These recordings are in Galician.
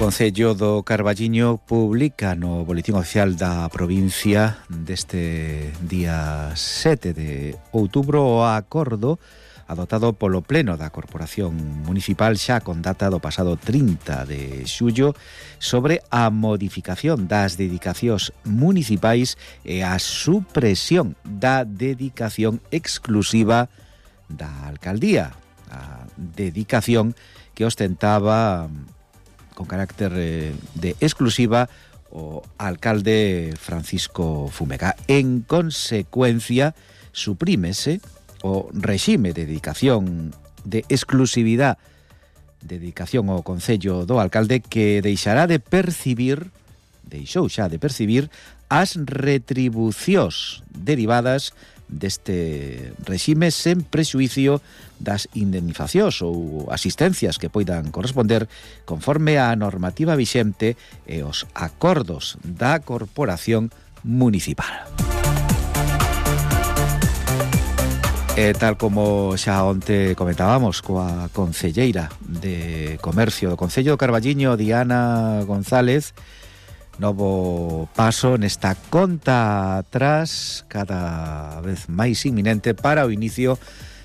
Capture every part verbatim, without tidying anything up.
Concello do Carballiño publica no Boletín Oficial da provincia deste día sete de outubro o acordo adoptado polo Pleno da Corporación Municipal xa con data do pasado trinta de xullo sobre a modificación das dedicacións municipais e a supresión da dedicación exclusiva da alcaldía, a dedicación que ostentaba con carácter eh, de exclusiva o alcalde Francisco Fumega. En consecuencia, suprímese o regime de dedicación de exclusividade, dedicación ao concello do alcalde, que deixará de percibir, deixou xa de percibir, as retribucións derivadas deste regime sen prexuicio das indemnizacións ou asistencias que poidan corresponder conforme á normativa vixente e os acordos da Corporación Municipal. E tal como xa onte comentábamos coa concelleira de Comercio do Concello do Carballiño, Diana González, novo paso nesta conta atrás cada vez máis inminente para o inicio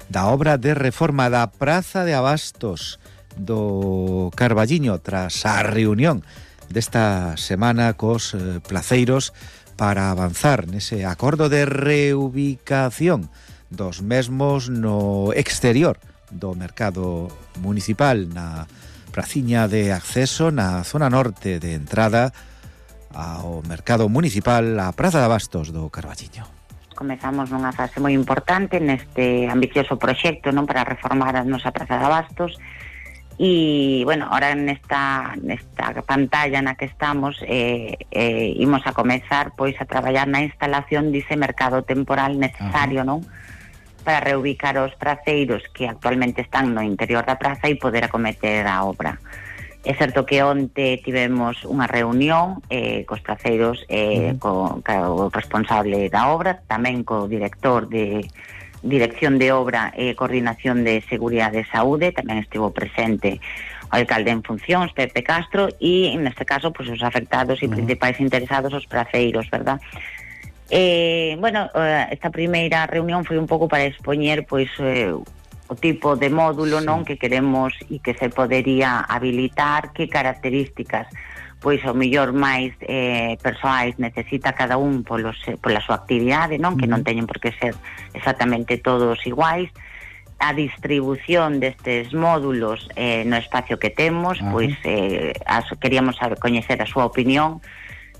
da obra de reforma da Praza de Abastos do Carballiño tras a reunión desta semana cos eh, placeiros para avanzar nese acordo de reubicación dos mesmos no exterior do mercado municipal, na praciña de acceso na zona norte de entrada ao mercado municipal, a Praza de Abastos do Carballiño. Comezamos nunha fase moi importante neste ambicioso proxecto, non, para reformar a nosa Praza de Abastos. E, bueno, ahora nesta, nesta pantalla na que estamos eh, eh, imos a comezar pois a traballar na instalación dese mercado temporal necesario, non, para reubicar os praceiros que actualmente están no interior da praza e poder acometer a obra. É certo que onte tivemos unha reunión eh, cos praceiros, eh, co, co responsable da obra, tamén co director de Dirección de Obra e Coordinación de Seguridade e Saúde, tamén estivo presente o alcalde en funcións, Pepe Castro, e neste caso pues, os afectados e principais interesados, os praceiros, verdad? Eh, bueno, esta primeira reunión foi un pouco para expoñer pois eh, o tipo de módulo, non, que queremos e que se podería habilitar, que características pois o mellor máis eh, persoais necesita cada un polos, pola súa actividade, non, que non teñen por que ser exactamente todos iguais, a distribución destes módulos eh, no espacio que temos. Ajá. Pois eh, as, queríamos saber, coñecer a súa opinión,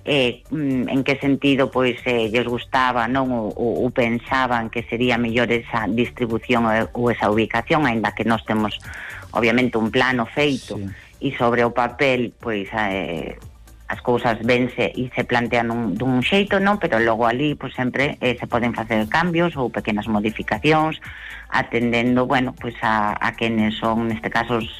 eh, en que sentido pois eh, lles gustaba, non, ou, ou pensaban que sería mellor esa distribución ou esa ubicación, aínda que nós temos obviamente un plano feito. Sí. E sobre o papel pois eh, as cousas vense e se plantean un, dun xeito, non, pero logo ali pois sempre eh, se poden facer cambios ou pequenas modificacións atendendo, bueno, pois a, a quenes son neste caso os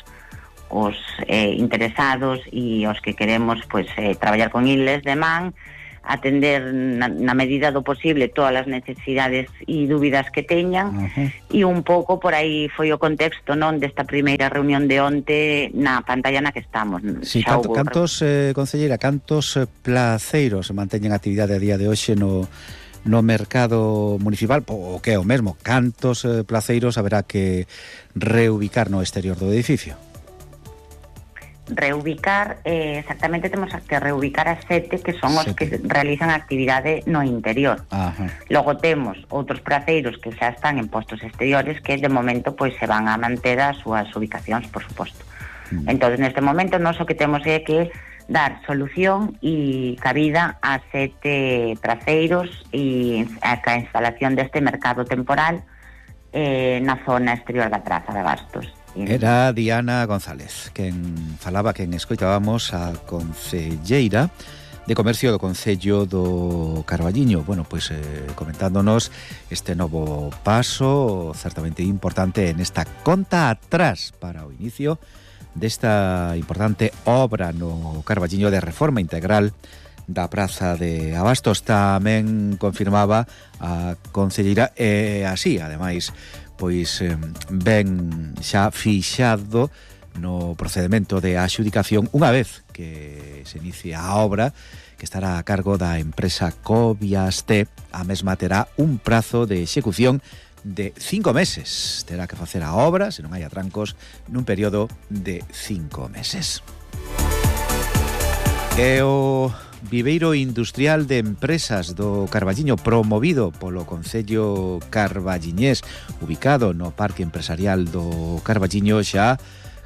os eh, interesados e os que queremos pois eh, traballar con iles de man, atender na, na medida do posible todas as necesidades e dúbidas que teñan. Uh-huh. E un pouco por aí foi o contexto, non, desta primeira reunión de onte na pantalla na que estamos. Sí, canto, hubo... cantos, eh, concelleira, cantos eh, placeiros manteñen actividade a día de hoxe no no mercado municipal, o que é o mesmo, cantos eh, placeiros haberá que reubicar no exterior do edificio? Reubicar, eh, exactamente temos que reubicar a sete que son sete. Os que realizan actividade no interior. Ajá. Logo temos outros praceiros que xa están en postos exteriores que de momento pois se van a manter as súas ubicacións, por suposto. Mm. Entón, neste momento nós o que temos é que dar solución e cabida a sete praceiros e a a instalación deste mercado temporal eh, na zona exterior da Praza de Abastos. Era Diana González quen falaba, quen escoitábamos a concelleira de Comercio do Concello do Carballiño. Bueno, pois eh, comentándonos este novo paso certamente importante en esta conta atrás para o inicio desta importante obra no Carballiño de reforma integral da Praza de Abastos. Tamén confirmaba a concelleira e así, ademais, pois eh, ben xa fixado no procedemento de adxudicación unha vez que se inicie a obra, que estará a cargo da empresa Coviasté. A mesma terá un prazo de execución de cinco meses. Terá que facer a obra, se non hai atrancos, nun período de cinco meses. E o Viveiro Industrial de Empresas do Carballiño, promovido polo Concello Carballiñés, ubicado no Parque Empresarial do Carballiño, xa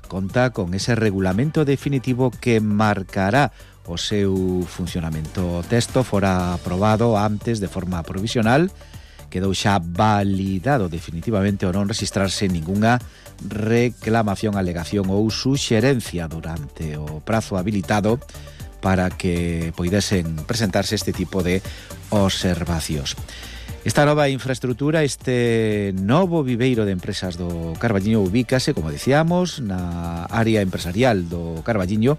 conta con ese regulamento definitivo que marcará o seu funcionamento. O texto fora aprobado antes de forma provisional, quedou xa validado definitivamente ao non registrarse ningunha reclamación, alegación ou suxerencia durante o prazo habilitado para que poidesen presentarse este tipo de observacións. Esta nova infraestructura, este novo viveiro de empresas do Carballiño, ubícase, como decíamos, na área empresarial do Carballiño,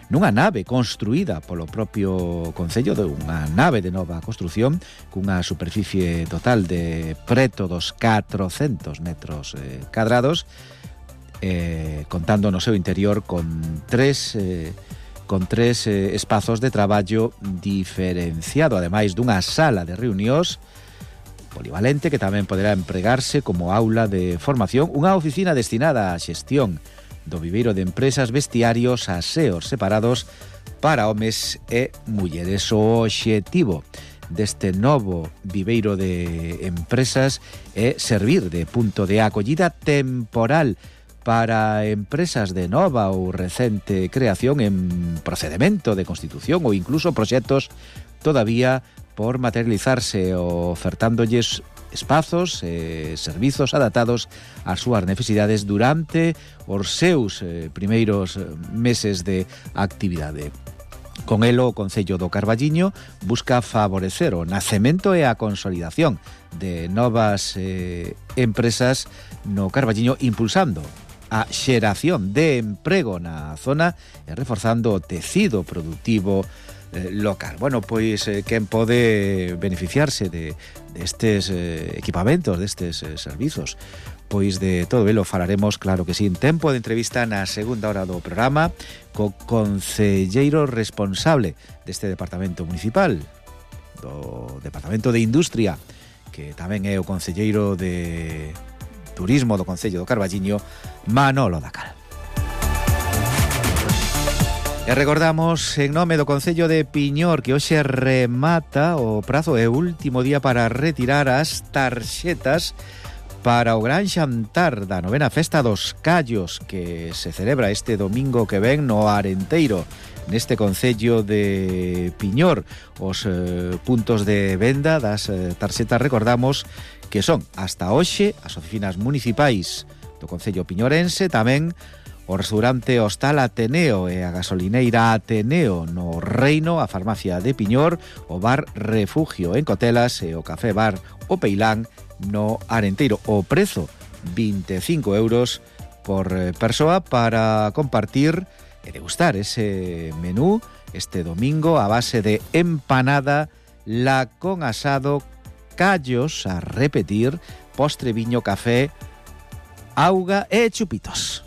nunha nave construída polo propio Concello, de unha nave de nova construción, cunha superficie total de preto dos catrocentos metros eh, cadrados, eh, contando no seu interior con tres... Eh, con tres eh, espazos de traballo diferenciado, ademais dunha sala de reunións polivalente que tamén poderá empregarse como aula de formación, unha oficina destinada á xestión do viveiro de empresas, vestiarios, aseos separados para homes e mulleres. O obxectivo deste novo viveiro de empresas é servir de punto de acollida temporal para empresas de nova ou recente creación en procedemento de constitución ou incluso proxectos todavía por materializarse, ofertándolles espazos e servizos adaptados ás súas necesidades durante os seus eh, primeiros meses de actividade. Con elo, o Concello do Carballiño busca favorecer o nacemento e a consolidación de novas eh, empresas no Carballiño, impulsando a xeración de emprego na zona e reforzando o tecido productivo eh, local. Bueno, pois eh, quen pode beneficiarse de destes eh, equipamentos, destes eh, servizos? Pois de todo elo falaremos, claro que sí, en tempo de entrevista na segunda hora do programa co concelleiro responsable deste departamento municipal, do Departamento de Industria, que tamén é o concelleiro de Turismo do Concello do Carballiño, Manolo Dacal. E recordamos, en nome do Concello de Piñor, que hoxe remata o prazo e último día para retirar as tarxetas para o gran xantar da novena Festa dos Callos, que se celebra este domingo que ven no Arenteiro, neste Concello de Piñor. Os eh, puntos de venda das eh, tarxetas, recordamos, que son hasta hoxe as oficinas municipais do Concello piñorense, tamén o restaurante Hostal Ateneo e a gasolineira Ateneo no Reino, a farmacia de Piñor, o bar Refugio en Cotelas e o café bar O Peilán no Arenteiro. O prezo, vinte e cinco euros por persoa, para compartir e degustar ese menú este domingo a base de empanada, la con asado, callos a repetir, postre, viño, café, auga e chupitos.